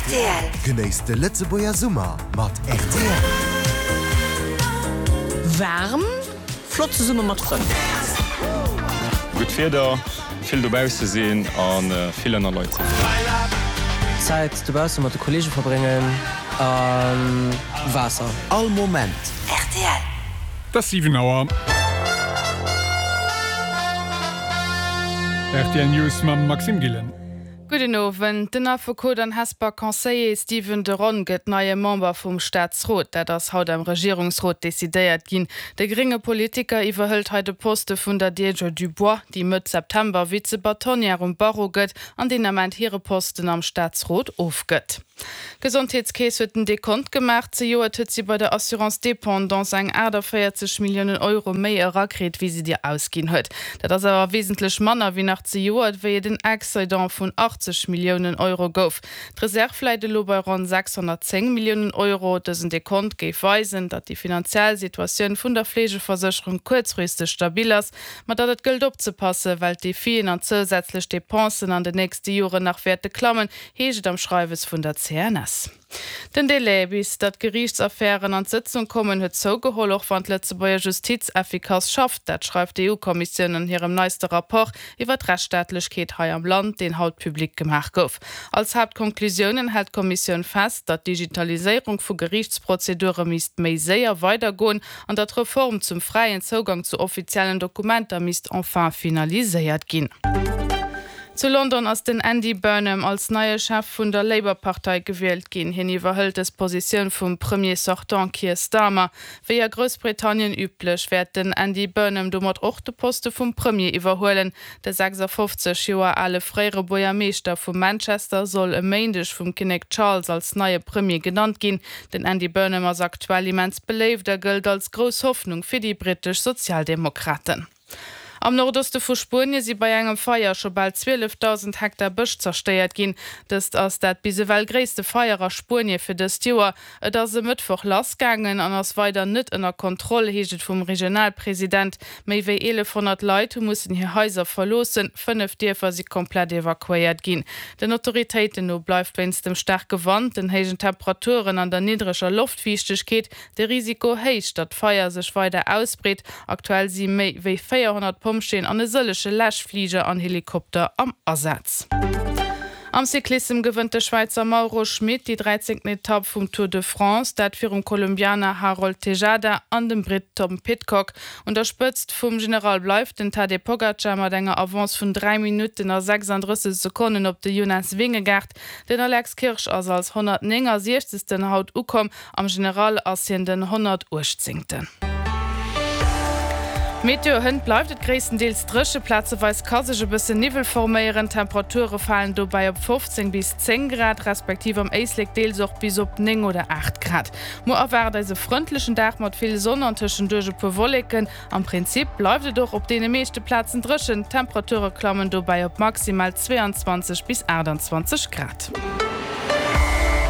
Rtl. Genéisst de Lëtzebuerger Summer mat rtl. Waarm, flott zesumme mat Frënn. Gutt Wieder, vill dobausse sinn a vill ënner Leit sinn. Zäit dobausse mat de Kollege verbréngen a Waasser. All Moment. Rtl. Et ass 7 Auer. Rtl News mam Maxime Gillen. Gudden Owend. Den Affekot an Hesper Conseiller Stephen de Ron gëtt neie Member vum Staatsrot. Dat ass haut am Regierungsrot decidéiert ginn. De grénge Politiker iwwerhëlt hei de Poste vun der Deirdre Dubois, déi Mëtt September Vize-Bâtonnière um Barreau gëtt an deen Ament hire Posten am Staatsrot ofgëtt. D'Gesondheetskeess huet den Dekont gemaach. Zejoert huet si bei der Assurance dépendance eng 48 Milliounen Euro méi erakritt, wéi si der ausginn huet. Dat ass awer wesentlech manner wéi nach zejoert, wéi et en Excédent vun 80 Milliounen Euro gouf. D'Reserv läit elo bei ronn 610 Milliounen Euro. Dësen Dekont géif weisen, datt déi finanziell Situatioun vun der Fleegeversécherung kuerzfristeg stabil ass, Ma datt et gëllt opzepassen, well d'Defien an zousätzlech Depensen an den nächste Joren nach wäerte klammen, heescht et am Schreiwes vun der CNS. Den Delai, bis datt Geriichtsaffären an d'Sëtzung kommen, huet zougeholl, och wann d'Lëtzebuerger Justiz effikass schafft. Dat schreift d'EU-Kommissioun an hirem neiste Rapport iwwer d'Rechtsstaatlechkeet hei am Land, deen haut public gemaach gouf. Als Haaptkonklusiounen hält d'Kommissioun fest, datt d'Digitaliséierung vu Geriichtsprozedure misst méi séier weidergoen an datt d'Reform zum fräien Zougang zu offiziellen Dokumenter misst enfin finaliséiert ginn. Zu London ass den Andy Burnham als neie Chef vun der Labour-Partei gewielt ginn. Hien iwwerhëlt dës Positioun vum Premier sortant Keir Starmer. Wéi a Groussbritannien üblech, wäert den Andy Burnham domat och de Poste vum Premier iwwerhuelen. De 56 Joer ale fréiere Buergermeeschter vu Manchester soll e Méindeg vum Kinnek Charles als neie Premier genannt ginn. Den Andy Burnham ass aktuell immens beléift a gëllt als grouss Hoffnung fir déi brittesch Sozialdemokraten. Am Nordoste vu Spuenie si bei engem Feier scho bal 12.000 Hektar Bësch zerstéiert ginn. Dëst ass dat bis ewell gréisste Feier a Spuenie fir dëst Joer. Et ass e Mëttwoch lassgaangen an ass weider net ënner Kontroll, heescht et vum Regionalpresident. Méi wéi 1.100 Leit hu mussen hir Haiser verloossen, 5 Dierfer si komplett evakuéiert ginn. Den Autoritéiten no bleift wéinst dem staarke Wand, den héijen Temperaturen an der niddreger Loftfiichtegkeet de Risiko héich, datt d'Feier sech weider ausbreet. Aktuell si méi wéi 400 Pompjeeën an e sëllege Läschfliger an Helikopter am Asaz. Am Cyclissem gewënnt de Schwäizer Mauro Schmit déi dräizéngten Etapp vum Tour de France, dat virum Kolumbianer Harold Tejada an dem Britt Tom Pidcock. Un der Spëtzt vum General bleift den Tadej Pogacar mat enger Avance vun 3 Minutten a 36 Sekonnen op de Jonas Vingegaard. Den Alex Kirsch ass als 169. Haut ukomm, Am General ass hien den 118. Meteo, Hënt bleift et gréisstendeels dréche, plazeweis ka sech e bëssen Niwwel forméieren. D'Temperature falen dobäi op 15 bis 10 Grad, respektiv am Éislek deels och bis op 9 oder 8 Grad. Muer erwaart eis e frëndlechen Dag mat vill Sonn an tëschenduerch e puer Wolleken. Am Prinzip bleift et och op deene meeschte Plazen dréchen, d'Temperature klammen dobäi op maximal 22 bis 28 Grad.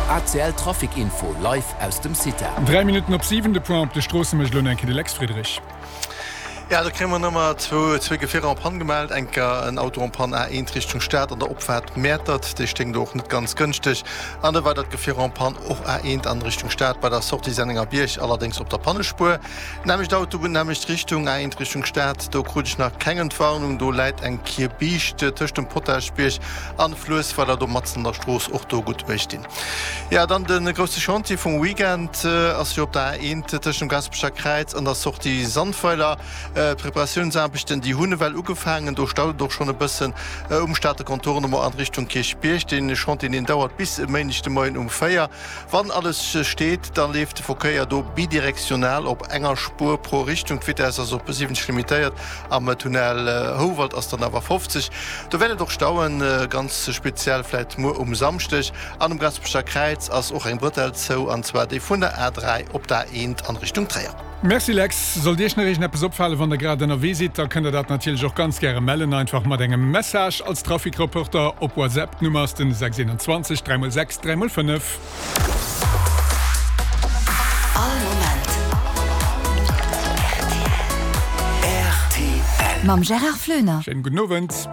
ACL Trafic Info live aus dem CITA. 3 Minutten op 7, de Point op de Stroosse mécht elo nach eng Kéier de Lex Friedrich. Jo, do kréie mer nëmmer zwou Gefierer en panne gemellt. Eng Kéier en Auto en panne A1 Richtung Stad an der Opfaart Mäertert, dee stéing do och net ganz gënschteg. An e weidert Gefier en panne och A1 an Richtung Stad bei der Sortie Sennengerbierg, allerdéngs op der Pannespuer. Nämmlecht Autobunn, nämmlecht Richtung, A1 Richtung Stad, do krut ech nach keng Entwarnung. Do läit eng Kierbiischt tëscht dem Potaschbierg an Fluessweiler, do matzen an der Strooss, och do gutt uecht dinn. Jo, dann de grousse Chantier vum Weekend ass jo op der A1 tëscht dem Gaasperecher Kräiz an der Sortie Sandweiler. D'Preparatiounsaarbechten, déi hunn ewell ugefaangen. Do staut et och schonn e bëssen um Stater Contournement an Richtung Kierchbierg. Dee Chantier, deen dauert bis e Méindeg de Moien um 4. Wann alles steet, da leeft de Verkéier do bidirektional op enger Spuer pro Richtung. D'Vitess ass op 70 limitéiert, am Tunnel Houwald ass dann awer 50. Do wäert et och stauen, ganz speziell vläit muer um Samschdeg. An um Gaasperecher Kräiz ass och eng Brëtell zou, an zwar déi vun der A3 op d'A1 an Richtung Tréier. Merci Lex. Sollt Iech nach iergendeppes opfalen, wann der grad ënnerwee sidd, da kënnt der dat natierlech och ganz gäre mellen, einfach mat engem Message als Trafikreporter op WhatsApp. D'Nummer ass den 621 3 x 6 3 x 5. All Moment rtl. Mam Gérard Floener. Schéinen gudden Owend.